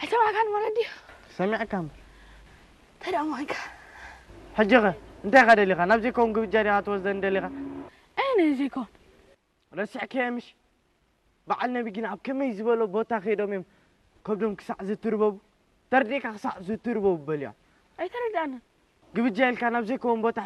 ኣይሰማዕካን ማለት ድዩ? ሰሚዕካ እምበር። እንታይ ደኣ ማንካ? ሕጂ ኸ እንታይ ኢኻ ደሊኻ? ናብ ዘይከውን ግብጃ ዲኻ ትወስደኒ ደሊኻ? ኣይ፣ ዘይኮን። ረሲዕካዮ ምሽ? በዓል ነቢ ግን ኣብ ከመይ ዝበሎ ቦታ ከይዶም እዮም ከብዶም ክሳዕ ዝትርበቡ? ተርዲእካ ክሳዕ ዝትርበቡ በልያ። ኣይተረዳእንን። ግብጃ ኢልካ ናብ ዘይከውን ቦታ